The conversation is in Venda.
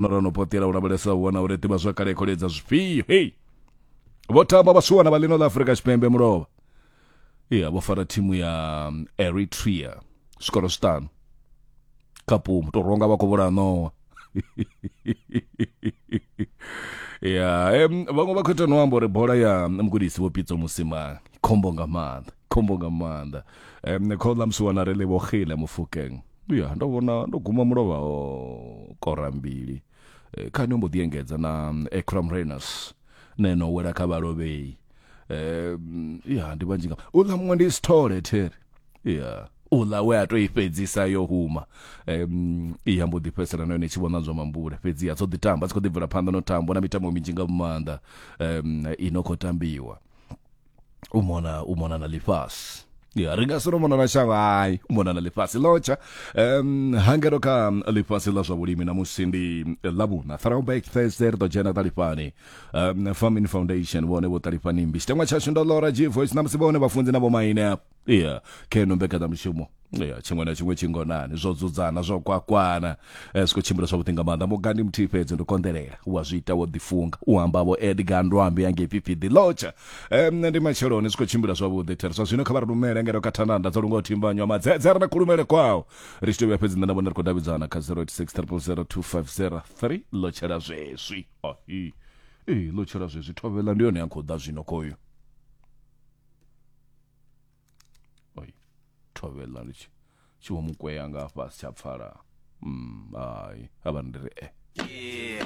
No no potela u lavhelesa u vhona uri ḓivhazwakale i khou ledza zwifhio. Hei, vho tamba vhasiwana vha ḽino ḽa Afrika Tshipembe mulovha. Iya, vho fara thimu ya Eritrea zwikoro zwiṱanu kha pumu, to rwa nga vha khou vhulaha ṋowa. Ya, vhaṅwe vha khou ita no amba uri bola ya mugudisi Vho Pitso Mosimane khombo nga maanḓa, khombo nga maanḓa. Khouḽa musiwana ri Lebohile Mofokeng. Ya, ndo vhona ndo guma mulovha o kora mbili. Eh, Khani ombo ḓi engedza na Ekram Reyners ne no wela kha vhalovhei. Ya, ndi vhanzhi nga uḽa muṅwe ndi Sithole there. Ya, uḽa we a to i fhedzisa yo huma. Ya mbo ḓi fhedzisela na yone i tshi vhona zwa mambule. Fhedzi ya dzo ḓi tamba, dzi khou ḓi bvela phanḓa no tamba na mitambo minzhi nga maanḓa i no khou tambiwa. U mona u mona na ḽifhasi. Ya, ri nga si ro mona na shango, hai, u mona na ḽifhasi lotsha. Hangeno kha ḽifhasi ḽa zwa vhulimi namusi ndi Ḽavhuṋa, Throwback Thursday, ri ḓo dzhena ṱalifhani. Farming Foundation vhone vho ṱalifhani mmbi. Tshiteṅwa tshashu ndo Lora G Voice, namusi vhone vhafunzi na vhomaine afho. Ya, kha ino mbekanyamushumo. Ya, tshiṅwe na tshiṅwe tshingonani, zwo dzudzana, zwo kwakwana, zwi khou tshimbila zwavhuḓi nga maanḓa. Muga ndi muthihi fhedzi, ndi konḓelela, u a zwi ita wo ḓifunga, u amba vho Edgar Ndwambi angei Phiphiḓi Lotsha. Nṋe ndi matsheloni, zwi khou tshimbila zwavhuḓi. There zwa zwino kha vha ri lumele ngeno kha thandanda dzo lungaho thimbanywa madzedze a re na kulumele kwao. Ri tshi tou vhuya fhedzi nṋe na vhone ri khou davhidzana kha 086 000 2503. Lotshela zwezwi. Ahi. Ee, lotshela zwezwi. Thovhela ndi yone ya khou ḓa zwino khoyu. Oi, thovhela ndi tshi tshi vho mukwea nga hafha si tsha pfala. Hai, a vha ndi ri e.